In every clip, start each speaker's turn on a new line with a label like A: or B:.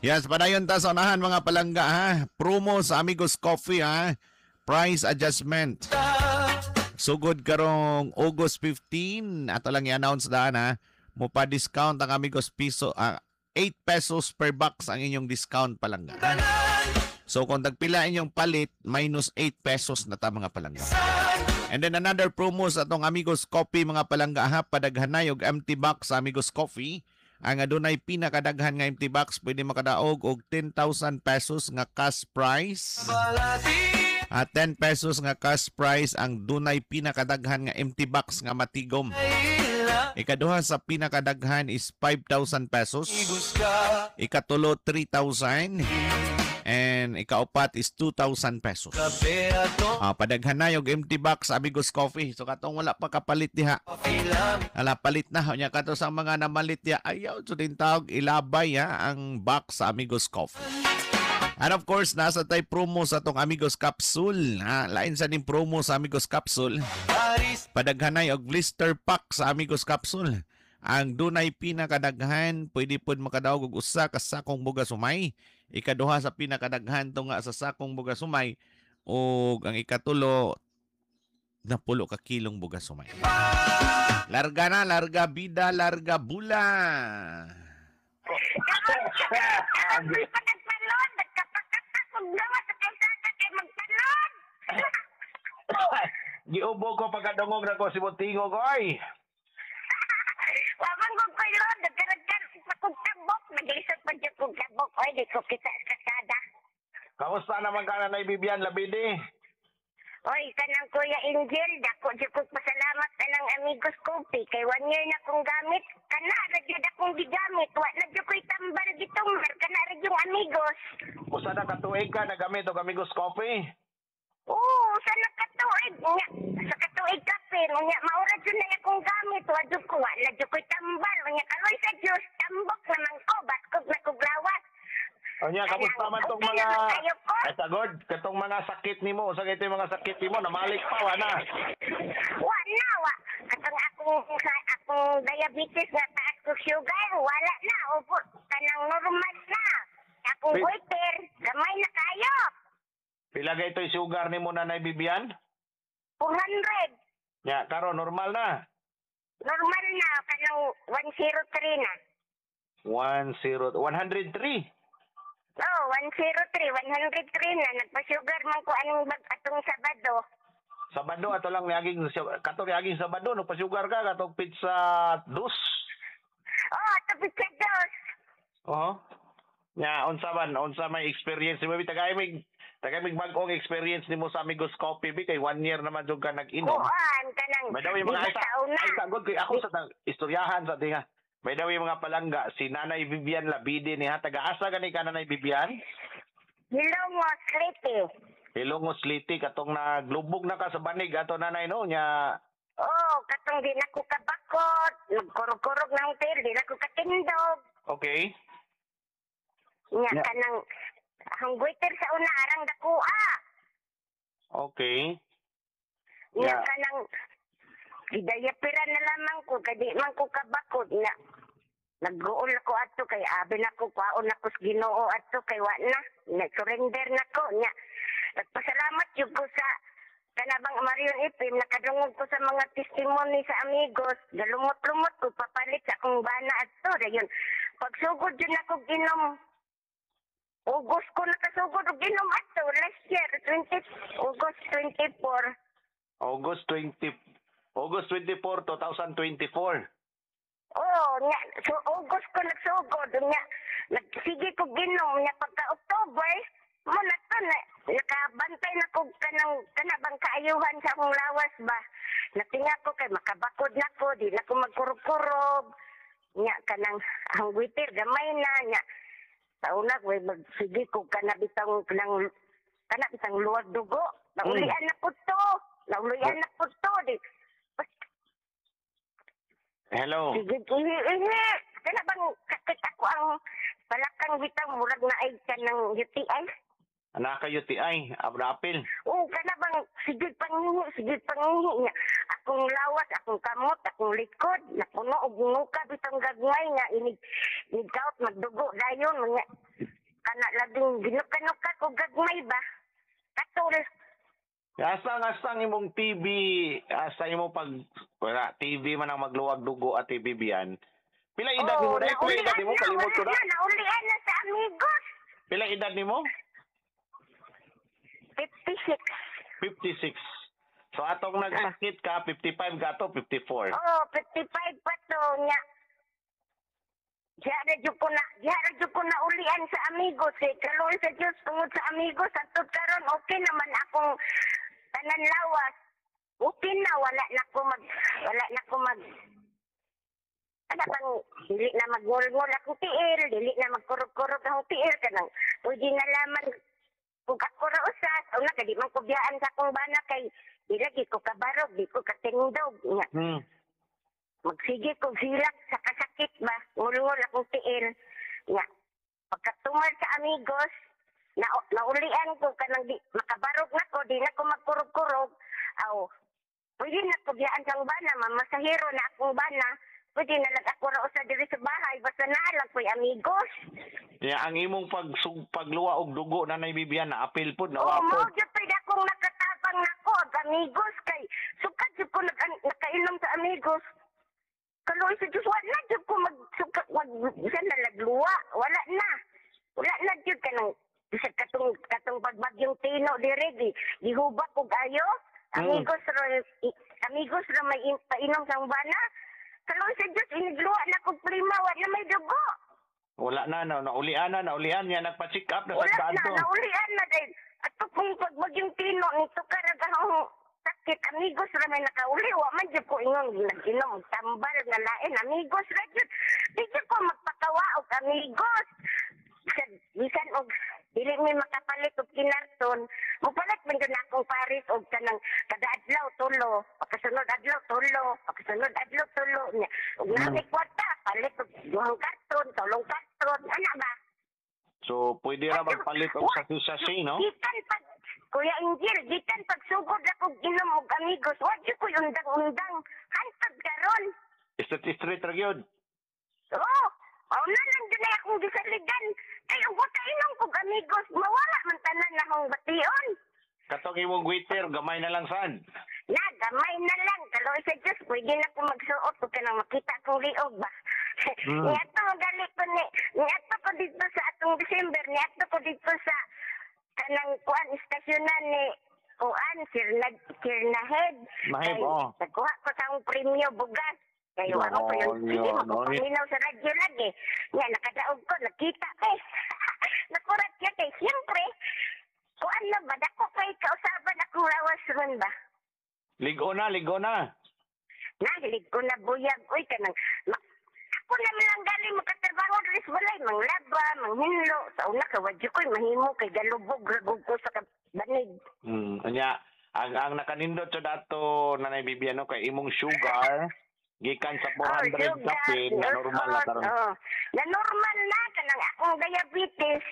A: Yes, padayon ta sa unahan, mga palangga, ha. Promo sa Amigos Coffee, ha. Price adjustment. Sugod karong August 15, ato lang i-announce daan, ha. Mo pa discount ang Amigos piso 8 pesos per box ang inyong discount, palangga, ha? So kung tagpila inyong palit, minus 8 pesos na ta, mga palangga. And then another promo sa atong Amigos Coffee, mga palangga, ha, padaghanay og empty box sa Amigos Coffee. Ang adunay pinakadaghan nga empty box pwede makadaog og 10,000 pesos nga cash prize. At 10 pesos nga cash prize ang dunay pinakadaghan nga empty box nga matigom. Ikaduha sa pinakadaghan is 5,000 pesos. Ikatulo, 3,000. And ikaupat is 2,000 pesos. Padaghan na yung empty box Amigos Coffee. So katong wala pa kapalit diha. Ala, palit na. Nya kato sa mga namalit diha, ayaw so din tawag ilabay ha, ang box sa Amigos Coffee. And of course, nasa tay promo sa atong Amigos Capsule. Ha, lain sa ning promo sa Amigos Capsule. Padaghanay og blister pack sa Amigos Capsule. Ang dunay pinakadaghan pwede pod makadaog og usa ka sakong bugas sumay. Ikaduha sa pinakadaghan tunga sa sakong bugas sumay ug ang ikatulo, 10 ka kilong bugas sumay. Larga na, larga bida, larga bula.
B: Nagtalon, nagkapakatak, gawa sa kalsada kay magtalon.
C: Giubo ko pagkadungog na ko si Buntingog, oy.
B: Wamang kong kaylon, nagkaragkar sa kong tabok, naglisod pa dyan kong tabok, oy, di ko kita sa kalsada.
C: Kamusta naman ka, Nanay Bibian Labidi?
B: Oy, kanang Kuya Angel, dako jud kong pasalamat anang Amigos Coffee kay one year na kong gamit, kana ra jud akong gigamit, wa na jud ko'y tambal gitumar, kana ra yung Amigos.
C: Usa na katuig ka nagamit og Amigos Coffee?
B: Oo, sa nakatuig nya, sa katuig kape, nya maura jud na akong gamit, wa jud ko, wa na jud ko'y tambal, nya karoy sa Dios, tambok naman ko, batkog na kog lawas.
C: Unya, kamusta man tong
B: Okay
C: mga
B: naman kayo ko.
C: Ay, tagod, katong mga sakit nimo, usa kay mga sakit nimo namalik pa wa na?
B: Wa na, wa. Katong akong, sa akong diabetes nga taas ko sugar, wala na. Opo, kanang normal na. Akong goiter, gamay na kayo.
C: Pila kay ito'y sugar nimo, Nanay Bibian?
B: 400.
C: Nya, karon normal na.
B: Normal na, kanang 103 na.
C: 10 103.
B: Oh, 103, 103 na. Nagpa-sugar man ko anong bag atong Sabado.
C: Sabado ato lang niaging katong niaging Sabado no pasugar ka katong pizza dos.
B: Oh, ato pizza dos.
C: Oo. Nya unsa man unsa may experience nimo bi tagay mig bag-ong experience nimo sa Amigos Coffee bi kay one year naman jud ka nag-inom.
B: Kuan, kanang,
C: By the way, mga
B: di ba
C: ay,
B: sa una?
C: Ay tagod kay ako sa istoryahan sa tinga. By the way, mga palangga, si Nanay Vivian Labide ni ha, taga-asa gani ka, Nanay Vivian?
B: Hilongos, Leyte.
C: Hilongos, Leyte, katong naglubog na ka sa banig ato, Nanay, no nya?
B: Oh, katong di na ko kabakot, nagkurog-kurog na akong tiil, di na ko katindog. Nya kanang ang goiter sa una arang dakua. Nya kanang gidayapira na lamang ko kay di man ko kabakot na nagguol ako ato kay abi na ko kwaon ako sa Ginoo ato kay wa na nag-surrender na ko. Nya nagpasalamat jud ko sa kanabang Marion Ipim, nakadungog ko sa mga testimony sa Amigos, galumot-lumot ko papalit sa akong bana ato. Dayon pagsugod jud nako ginom, August ko nakasugod og ginom ato last year, 20 August 24.
C: August 20 August 24, 2024.
B: Oo, nya, so August ko nagsugod, nya, nagsige ko ginom, nya pagka October, mo na to, na, nakabantay na ko kanang, kanabang kaayuhan sa akong lawas ba. Natinga ko kay makabakod na ko, di na ko magkurog-kurog, nya kanang ang witir, gamay na, nya, sa una, way magsige ko kanabitang, kanang, kanabitang luwag dugo, naulian na po to, naulian na po to, di,
C: Hello.
B: Sige, ihi, ihi. Kana bang sakit ako ang palakang bitaw murag na ay ka ng UTI?
C: Anak ka UTI, abra apil.
B: Oo, kana bang sige pangihi, sige pangihi niya. Akong lawas, akong kamot, akong likod, napuno og nguka bitong gagmay nga inig inig kaot magdugo dayon nga. laging ginuka-nuka ko gagmay ba. Katol.
C: Asa ang imong TV, asa imong pag wala TV man ang magluwag dugo at TV biyan. Pila edad nimo dai? Pila edad nimo? Kalimot ko
B: na.
C: Na.
B: Naulian na sa amigos.
C: Pila edad nimo?
B: 56.
C: 56. So atong nagsakit ka 55 gato 54.
B: Oh, 55 pa to nya. Diya na jud ko na ulian sa amigos eh. Kaluoy sa Diyos tungod sa amigos atud karon okay naman akong tanan lawas. Okay na wala na ko mag ano bang dili na magngol-ngol akong tiil, dili na magkurog-kurog akong tiil kanang pwede na laman kung ako ra usas, una kay di man ko biyaan sa akong bana kay di lagi ko kabarog, di ko katindog nya. Magsige kog hilak sa kasakit ba, ngulngol akong tiil. Nya, pagkatumal sa amigos, na naulian ko kanang di, makabarog na ko, di na ko magkurog-kurog. Aw, pwede na ko biyaan sa bana, mamasahero na akong bana. Pwede na lang ako ra usa diri sa bahay, basta naa lang ko'y amigos.
C: Ya, ang imong pagluwa og dugo na Bibian na apil pod na
B: Oo,
C: wapod.
B: mao gyud pwede akong nakatabang nako ag amigos kay sukad jud ko nakainom sa amigos. Kaluoy sa Diyos, wala jud ko magsuka, wag bisan na lagluwa, wala na. Wala na jud kanang bisag katong pagbagyong tino dire di gihubak og ayo. Amigos ra may painom sa bana. Kaluoy sa Diyos, inigluwa na kog prima, wala may dugo.
C: Wala na, na naulian na, naulian niya nagpa-check up na
B: Wala
C: sa
B: na,
C: to.
B: naulian na dahil ato kung pagbagyong tino nito karag ang sakit, amigos ra may nakauli, wa man jud ko ingon nag-inom tambal nga lain, amigos ra jud. Di jud ko magpakawa og amigos. Bisan og dili mi makapalit og kinarton, mopalit man jud na akong paris og kanang kada adlaw tulo, pagkasunod adlaw tulo, pagkasunod adlaw tulo nya. Og nami kwarta, palit og duhang karton, tulong karton, ana ba?
C: So pwede ra magpalit og sachet, no?
B: Gikan pag Kuya Angel, gikan pagsugod ako ginom og amigos, wa jud ko'y undang-undang. Hantod karon.
C: Straight ra gyud.
B: Oo, mao na lang jud na akong gisaligan. Kay ug inom kog amigos, mawala man tanan na akong bation.
C: Katong imong waiter gamay na lang sad.
B: Na, gamay na lang. Kaluoy sa Diyos, pwede na ko magsuot ug kanang makita akong liog ba. Niadto gali ko ni, niadto ko dito sa atong December, niadto ko dito sa kanang kuan istasyonan ni kuan Sir Nahed.
C: Naheb, oh.
B: Nagkuha ko sa akong premyo bugas. Kay wa ko yung sige mapapaminaw sa radyo lagi. Nga nakadaog ko, nakita kay. Nakurat siya kay siyempre. Kuan na ba dako kay kausaban akong lawas ron ba.
C: Ligo na, ligo na.
B: Nahilig ko na buyag oy kanang ako na lang galing makatrabaho diri sa balay, manglaba, manghinlo. Sa una ka wadyo ko'y mahimo kay galubog ragog ko sa banig.
C: Anya ang nakanindot sa dato Nanay Bibian no kay imong sugar gikan sa 400 kapin na normal na karon.
B: Oh, na normal na kanang akong diabetes.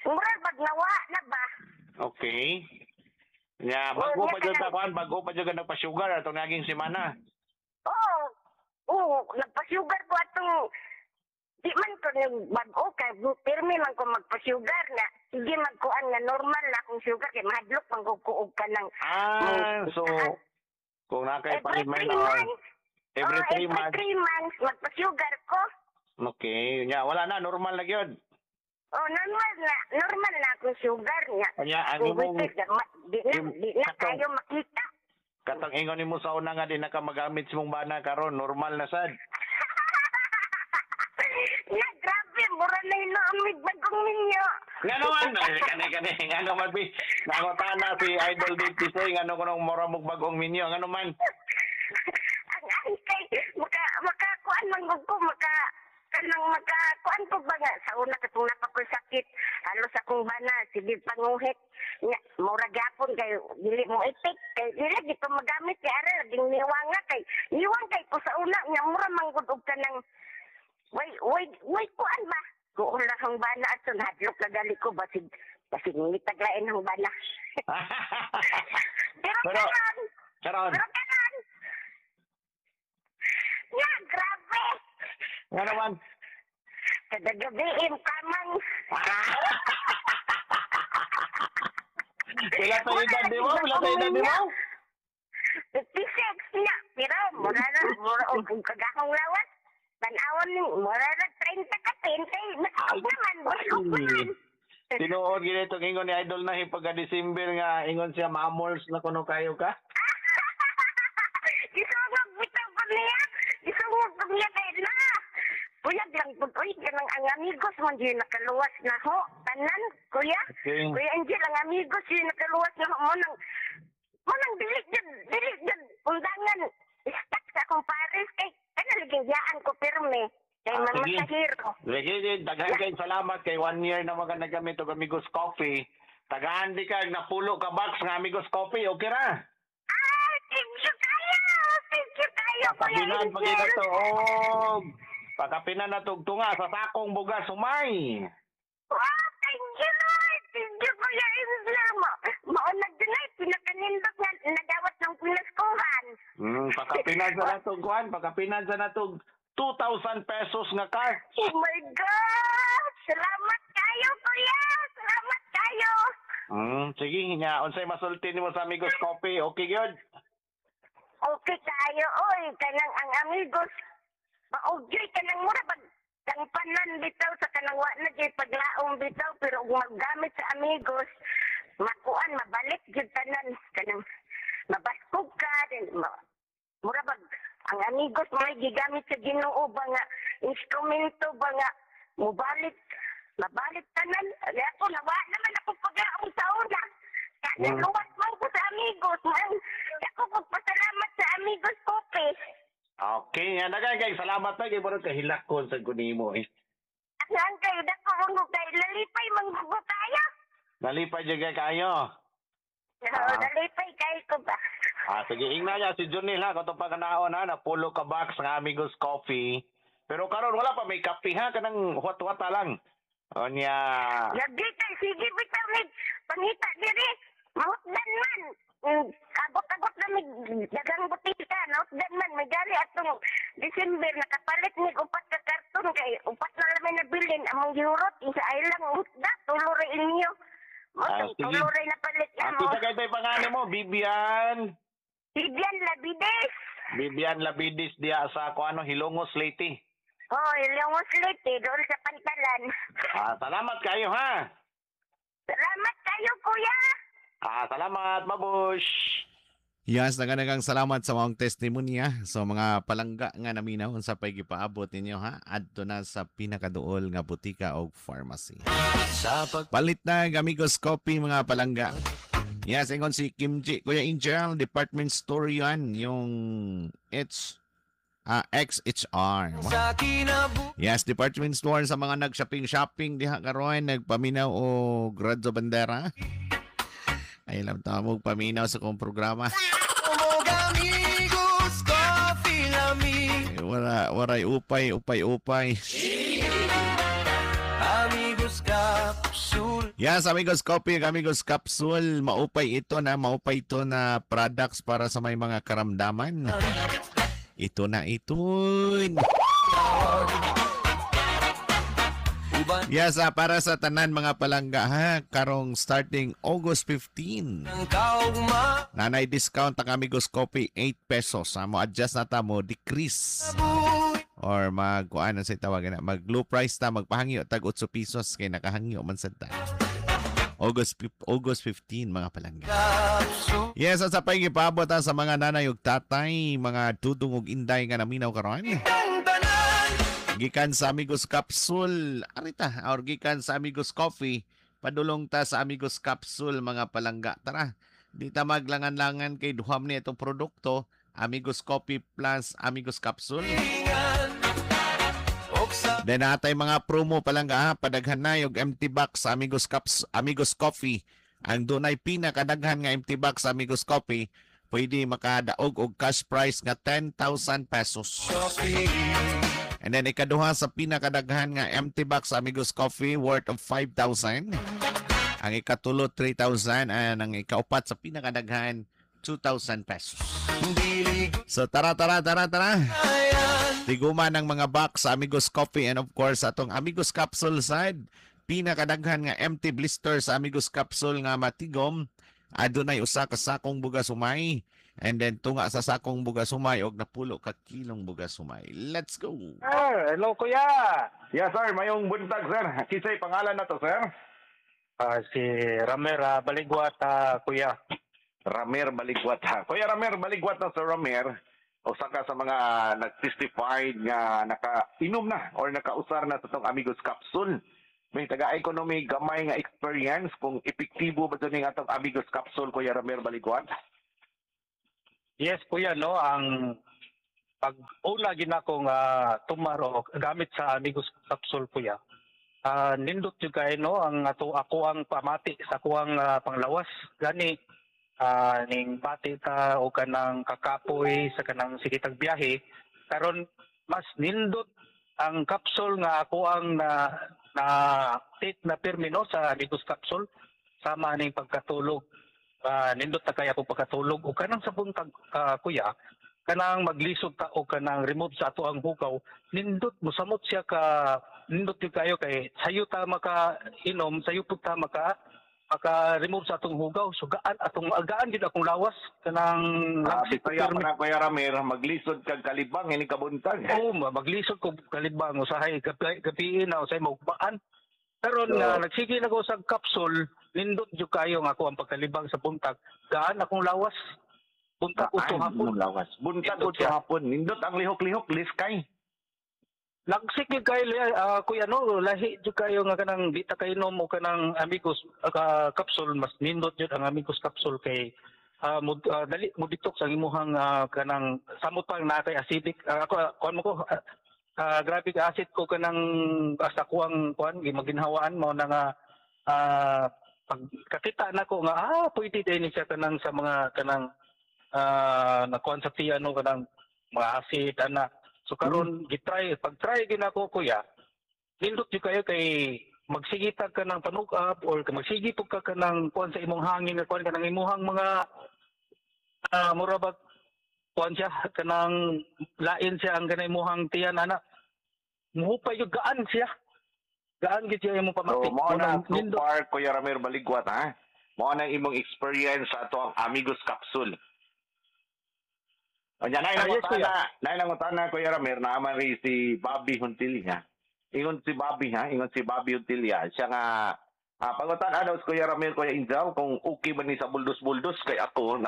B: Mura bag nawa na ba?
C: Okay. Nya bago pa jud ka kuan, bago pa jud ka nagpa-sugar atong naging semana.
B: Oo. Oo, nagpa-sugar ko atong di man ko nag bag-o kay pirmi man ko magpa-sugar na sige magkuan nga normal na akong sugar kay mahadlok man ko og kanang
C: So kung na kay
B: every
C: palit may
B: 3 months,
C: every 3 months.
B: Every 3 months magpa-sugar ko.
C: Okay, nya wala na normal na gyud.
B: Oh, normal na akong sugar niya.
C: Nya ang imong
B: di na kayo makita.
C: Katong ingon nimo sa una nga di na ka magamit sa mong bana karon, normal na sad.
B: Na grabe, mura na hinuamig bagong ninyo.
C: Nga naman, kani nga naman bi. Nangutana si Idol Dave Tisoy ngano kunong mura mog bagong minyo, ngano man.
B: Ang kay makakuan man gud ko maka kanang makakuan ko ba nga sa una katong napakoy sakit halos akong bana sige panguhit nga mura gyapon kay dili mo itik kay dili gid ko magamit kay ara laging niwanga kay niwang kay ko sa una nga mura man gud og kanang way kuan ba kuon lang ang bana ato nahadlok na gali ko basig nitaglain ang bana. Pero karon nga grabe.
C: Nga naman.
B: Kada gabi, kamang.
C: Pila sa edad di mo? Pila sa edad di mo?
B: 56 na. Pero, mura na, mura, og kagakong lawas. Tanawon ni, mura na 30 ka, 30. Baskog naman, baskog naman.
C: Tinuod gid itong ingon ni Idol na pagka December nga ingon siya mamols na kuno kayo ka.
B: Gisungog bitaw ko niya. Gisungog ko niya kay na. Puyag lang pud oy, kanang ang amigos mo di nakaluwas na ho. Tanan, kuya.
C: Okay.
B: Kuya Angel, ang amigos yun nakaluwas na ho. Mo nang dili jud undangan stuck sa akong pares kay kana ligayaan ko pirme kay
C: Ah,
B: Mama
C: sige.
B: Sahiro.
C: Sige, sige, daghan kay salamat kay one year na mga nagamit og Amigos Coffee. Tagaan di ka napulo ka box nga Amigos Coffee, okay ra?
B: Ah, thank you kayo. Thank you kayo, Kuya
C: Pakapinan pag
B: Angel.
C: to og pakapinan na tug tunga sa sakong bugas humay.
B: Wow, thank you, Lord. Thank you, Kuya Angel. Maunag din ay pinakanindot nga nadawat ng pinaskuhan.
C: Pakapinan sa natog kuan, pakapinan sa natog 2,000 pesos nga cash.
B: Oh my God! Salamat kayo, Kuya! Salamat kayo!
C: Sige nga, unsay masulti nimo sa Amigos Coffee? Okay gyud.
B: Okay kayo, oy. Kanang ang amigos. Maugyoy kanang mura pag kang panan bitaw sa kanang wa na gyud paglaom bitaw, pero kung maggamit sa amigos makuan, mabalik gyud tanan, kanang mabaskog ka then mura bag ang amigos may gigamit sa Ginoo ba nga instrumento ba nga mobalik, mabalik tanan. Ay, ako nawa naman ako paglaom sa una. Kaya luwas man ko sa amigos man ako pagpasalamat sa Amigos Coffee.
C: Okay, nga daghan kay salamat na kay murag kahilakon sa kunimo eh.
B: Ang kayo dako mo kay lalipay manggugo kayo.
C: Nalipay jud kay kayo.
B: Oo, nalipay kayo ko ba.
C: Ah, sige, ingna niya si Junil ha, katong pagkanaon ha, napulo ka box nga Amigos Coffee. Pero karon wala pa may kape ha, kanang huwat-huwata lang. O niya,
B: Lagi kay sige bitaw ni pangita diri. Mahutdan man. Abot-abot na mig daghang butika, nahutdan man may gali atong December nakapalit mig upat ka karton kay upat na lang may nabilin among gihurot isa ay lang hutda, tulo ra inyo. Mo
C: Ah, sige.
B: tulo ra napalit
C: Ah,
B: mo.
C: kita kay tay pangalan mo, Bibian.
B: Bibian Labides.
C: Bibian Labidis diya sa kuano, Hilongos, Leyte.
B: Oh, Ilongos Leyte, doon sa pantalan.
C: Ah, salamat kayo ha.
B: Salamat kayo, kuya.
C: Ah, salamat, babush.
A: Yes, naganagang salamat sa mga testimonya sa mga palangga nga naminaw unsa pay gipaabot ninyo ha, adto na sa pinakaduol nga butika og pharmacy.
D: Sa pag
A: Palit na ang Amigos Coffee, mga palangga. Yes, ingon si Kim G. Kuya Angel, department store yan, yung H, XHR.
D: Sa kinabu
A: Yes, department store sa mga nag-shopping-shopping diha karon, nagpaminaw o Radyo Bandera. Ay, alam ta mo paminaw sa kong programa.
D: Og Amigos Coffee lami.
A: Eh, wala, waray upay, upay, upay.
D: Amigos Capsule.
A: Yes, Amigos Coffee, Amigos Capsule, maupay ito na products para sa may mga karamdaman. Ito na ito.
D: Uban
A: Yes, para sa tanan mga palangga ha, karong starting August 15.
D: ng kaugma.
A: Nanay discount ang Amigos Coffee, 8 pesos. Ha, mo adjust na ta mo decrease or mag kuan sa tawag na mag low price ta, magpahangyo tag 8 pesos kay nakahangyo man sad ta. August 15, mga palangga.
D: Capsule.
A: Yes, at sa paigipabot ha, sa mga nanay ug tatay, mga dudong ug inday nga naminaw karon.
D: Ang tanan.
A: Gikan sa Amigos Capsule, arita, or gikan sa Amigos Coffee, padulong ta sa Amigos Capsule, mga palangga. Tara, di ta maglangan-langan kay duham ni itong produkto, Amigos Coffee plus Amigos Capsule.
D: Ingan Og sa
A: Then natay mga promo, palangga ha, padaghan na yung empty box sa Amigos Caps, Amigos Coffee. Ang dunay pinakadaghan nga empty box sa Amigos Coffee, pwede makadaog og cash prize nga 10,000 pesos.
D: Coffee.
A: And then ikaduha sa pinakadaghan nga empty box Amigos Coffee worth of 5,000. Ang ikatulo, 3,000 and ang ikaupat sa pinakadaghan, 2,000 pesos.
D: Dili
A: So tara, tara, tara, tara.
D: ayan.
A: Tiguma ng mga box sa Amigos Coffee and of course atong Amigos Capsule side, pinakadaghan nga empty blister sa Amigos Capsule nga matigom. Adunay usa ka sakong bugas humay and then tunga sa sakong bugas humay og napulo ka kilong bugas humay. Let's go.
E: Sir, hello kuya.
C: Yes sir, mayong buntag sir. Kinsay pangalan na to sir?
E: Si Ramer Baligwat, kuya.
C: Ramer Baligwat. Kuya Ramer Baligwat na, Sir Ramer. Usa ka sa mga nag-testified nga naka-inom na or nakausar na sa tong Amigos Capsule. May taga-economy gamay nga experience kung epektibo ba ito atong Amigos Capsule, Kuya Ramer Baligwat?
E: Yes kuya, no, ang pag una ginako nga tumaro gamit sa Amigos Capsule kuya. Nindot jud kay no ang ato ako ang pamati sa akuang panglawas gani ning bati ta o kanang kakapoy sa kanang sige tag biyahe karon mas nindot ang capsule nga ako ang na na take na pirmi no sa Amigos Capsule sama ning pagkatulog. Nindot na kaya akong pagkatulog o kanang sa buntag, kuya, kanang maglisod ta o kanang remove sa ato ang hugaw, nindot mosamot siya ka, nindot gyud kayo kay sayo ta maka inom, sayo pud ta maka maka-remove sa atong hugaw. So gaan atong gaan gid akong lawas kanang langsik ko
C: Bisaya
E: pirmi.
C: pa na Kuya Ramer, maglisod kag kalibang ini kabuntag.
E: Oo, maglisod ko kalibang usahay gabi, gabi na usahay maugmaan. Karon
C: So,
E: nga nagsige na ko sa capsule, nindot jud kayo nga ako ang pagkalibang sa buntag. Gaan akong lawas. Buntag uto
C: Gaan
E: hapon.
C: imong lawas. Buntag
E: Nindot
C: uto
E: siya.
C: hapon. Nindot ang lihok-lihok, liskay.
E: Lagsik gyud kayo kuya no, lahi jud kayo nga kanang di ta kainom o kanang Amigos capsule, mas nindot jud ang Amigos Capsule kay dali mo detox ang imuhang kanang samot pa na kay acidic. Ako kuan mo ko grabe ka acid ko kanang sa kuang kuan gimaginhawaan mo na nga pag kakita nako nga pwede din siya kanang sa mga kanang nakuan sa tiyan no kanang mga acid ana. So karon gitry pag try ginako kuya, nindot jud kayo kay magsigitag ka ng panug-up or magsigi pug ka kanang kuan sa imong hangin nga kuan kanang imuhang mga mura ba kuan siya kanang lain siya ang kanang imuhang tiyan ana, muhupay gyud, gaan siya, gaan gyud siya imong
C: So,
E: pamati.
C: mao na
E: Mao
C: so
E: nindot.
C: far, Kuya Ramer Baligwat, ha? Mao na imong experience sa ato ang Amigos Capsule. O nya,
E: Ah, yes, kuya.
C: Nay nangutana, Kuya Ramer, naaman rin si Bobby Huntilia. Ingon si Bobby, ha? Ingon si Bobby Huntilia. Siya nga, pangutan daw si Kuya Ramer, Kuya Injaw, kung okay ba ni sa buldos-buldos, kay ako,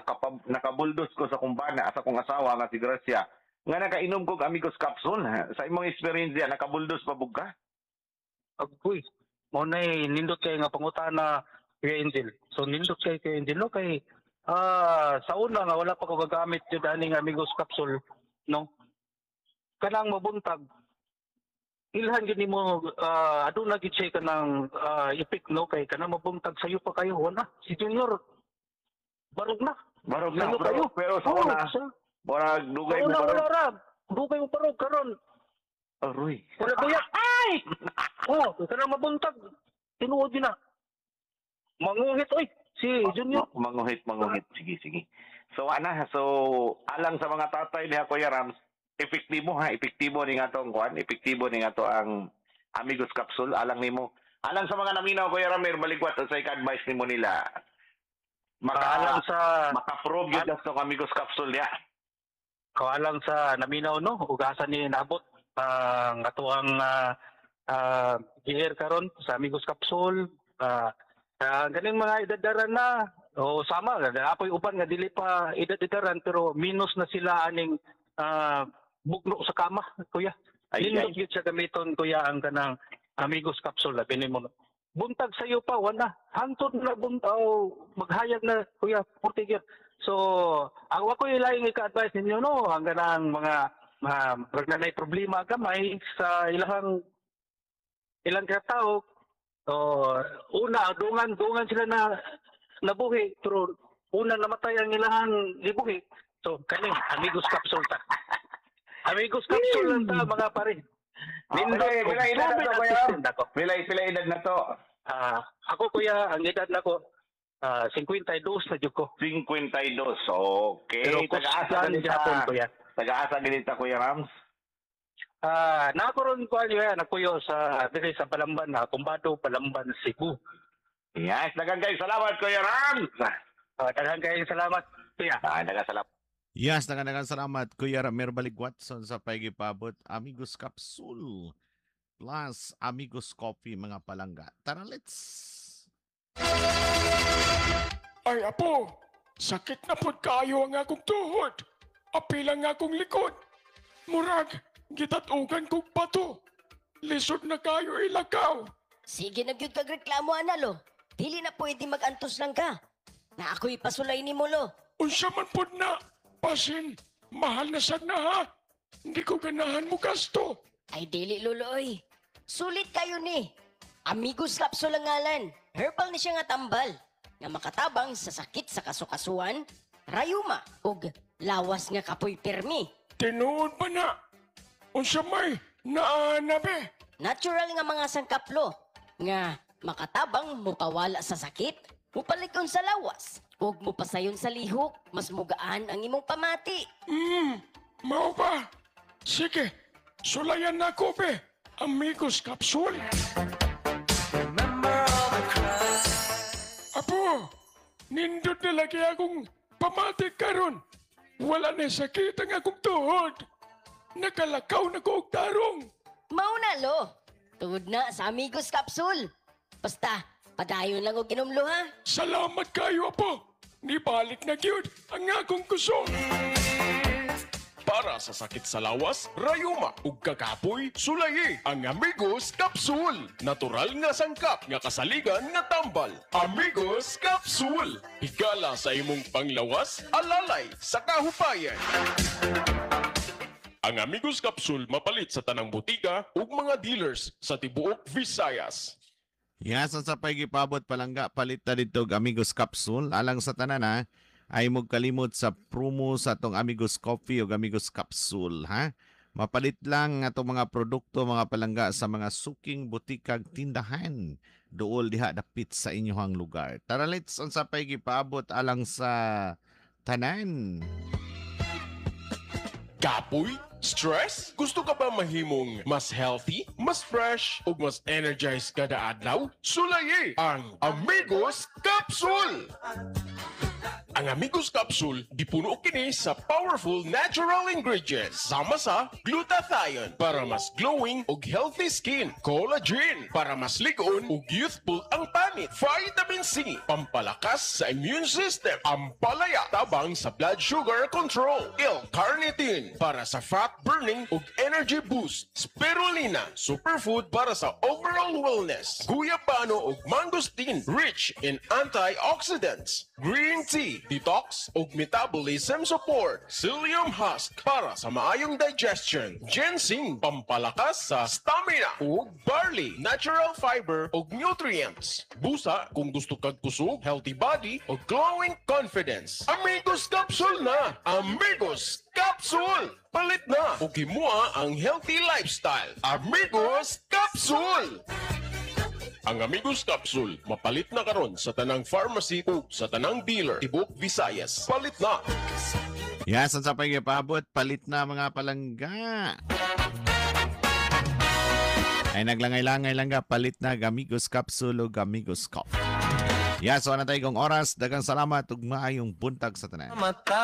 C: nakabuldos ko sa kumbana, sa kong asawa nga si Gracia, nga nakainom kog Amigos Capsule. Ha? Sa imong experience yan, nakabuldos pa bug ka?
E: Agoy. Mao na nindot kay nga pangutana Kuya Angel. So nindot kay Kuya Angel no kay sa una nga wala pa ko gagamit jud aning Amigos Capsule no. Kanang mabuntag ilhan gyud nimo aduna gyud siya kanang ipik no kay kanang mabuntag sayo pa kayo wala si Junior barog na.
C: Barog na,
E: Sayo
C: pero,
E: kayo.
C: pero sa
E: Oo,
C: una, murag dugay
E: sa
C: mo
E: una
C: barog.
E: wala ra. Dugay mo barog karon.
C: Aroy.
E: Wala kuya. Ay! Oh, kanang mabuntag. Tinuod yun na. Manguhit oy si Junior.
C: Manguhit, manguhit. Sige, sige. So, ana, so, alang sa mga tatay niya, Kuya Rams, epektibo ha, epektibo ni nga to ang kuan, epektibo ni nga to ang Amigos Capsule, alang nimo. Alang sa mga naminaw, Kuya Ramir, baligwat, sa advice nimo nila. Maka,
E: Alang sa
C: maka-prove yun tong Amigos Capsule niya.
E: Alang sa naminaw no ug asa ni naabot ang atoang GR karon sa Amigos Capsule, ganing mga edadaran na o sama apoy uban nga dili pa edad-edaran pero minus na sila aning bugno sa kama kuya.
C: Ay,
E: Nindot
C: ay.
E: gyud siya gamiton kuya ang kanang Amigos Capsule, labi nimo buntag sayo pa wala hangtod na oh, maghayag na kuya, purti gyud. So ang wa koy laing ika-advise ninyo no ang kanang mga murag na problema gamay sa ilahang ilang katao. So una dungan dungan sila na nabuhi pero una namatay ang ilahang gibuhi. So kani Amigos Capsule ta, Amigos Capsule lang ta mga pare.
C: Pila, pila edad na to, Kuya Ram?
E: assistant ako.
C: Pila, pila edad na to?
E: Ako kuya, ang edad nako 52 na jud ko.
C: 52. Okay.
E: Pero
C: Taga-asa
E: kusgan
C: ganita.
E: gihapon kuya.
C: Taga-asa ganita, Kuya Rams?
E: Na ako ron kuan kuya, nakuyo sa diri sa Palamban na Kumbado, Palamban, Cebu.
C: Yes, daghang kay salamat, Kuya Rams.
E: Daghan kayong salamat, kuya.
C: Ah, daghang salamat.
A: Yes, daghang salamat, Kuya Ramir Baligwatson, sa paigipabot Amigos Capsule plus Amigos Coffee, mga palangga. Tara, let's!
F: Ay apo, sakit na pod kaayo ang akong tuhod. Apil ang akong likod. Murag, gitatugan kog bato. Lisod na kayo ilakaw.
G: Sige na gyud kag reklamo ana, lo. Dili na pwede mag-antos lang ka. Na ako'y pasulay nimo, lo.
F: Unsa man pod na, pasin, mahal na sad na ha. Hindi ko ganahan mo gasto.
G: Ay dili, lolo oy. Sulit kayo ni. Amigos Capsule ang ngalan. Herbal ni siya nga tambal nga makatabang sa sakit sa kasukasuan, rayuma ug lawas nga kapoy pirmi.
F: Tinuod ba na? Unsa may naa be?
G: Natural nga mga sangkaplo nga makatabang mupawala sa sakit, mupalikon sa lawas, ug mupasayon sa lihok, mas mugaan ang imong pamati.
F: Mao ba? Sige, sulayan na ko be. Amigos Capsule. Apo, nindot na lagi akong pamati karon. Wala na sakit ang akong tuhod. Nakalakaw na ko og tarong.
G: Mao na, lo. Tugod na sa Amigos Capsule. Basta, padayon lang og inom, lo, ha.
F: Salamat kayo, apo. Nibalik na gyud ang akong kusog.
H: Para sa sakit sa lawas, rayuma ug kakapoy, sulayi ang Amigos Capsule. Natural nga sangkap nga kasaligan nga tambal. Amigos Capsule. Higala sa imong panglawas, alalay sa kahupayan. Ang Amigos Capsule mapalit sa tanang botika ug mga dealers sa tibuok Visayas.
A: Yes, ang sa paigipabot, palangga, palit na dito og Amigos Capsule. Alang sa tanan ha, ay kalimot sa promo sa atong Amigos Coffee o Amigos Capsule ha. Mapalit lang atong mga produkto, mga palangga, sa mga suking butikag tindahan dool diha dapit sa inyong lugar. Tara, let's, ang sa paigipabot alang sa tanan.
H: Kapoy? Stress? Gusto ka ba mahimong mas healthy, mas fresh, ug mas energized kada adlaw? Sulayi ang Amigos Capsule! Ang Amigos Capsule, gipuno kini sa powerful natural ingredients sama sa glutathione para mas glowing ug healthy skin, collagen para mas lig-on ug youthful ang panit, vitamin C pampalakas sa immune system, ampalaya tabang sa blood sugar control, L-carnitine para sa fat burning ug energy boost, spirulina superfood para sa overall wellness, guyabano ug mangosteen rich in antioxidants, green tea detox ug metabolism support, psyllium husk para sa maayong digestion, ginseng pampalakas sa stamina ug barley natural fiber ug nutrients. Busa kung gusto kag kusog, healthy body ug glowing confidence. Amigos Capsule na! Amigos Capsule! Palit na ug himua ang healthy lifestyle. Amigos Capsule! Ang Amigos Capsule, mapalit na karon sa tanang pharmacy ug sa tanang dealer tibok Visayas. Palit na!
A: Yes, ang sa paigipabot, palit na, mga palangga. Ay naglangay-langay lang ga, palit na Amigos Capsule ug Amigos Coffee. Yes, so na tayo kong oras. Daghang salamat ug maayong buntag sa tanan.
D: Mata.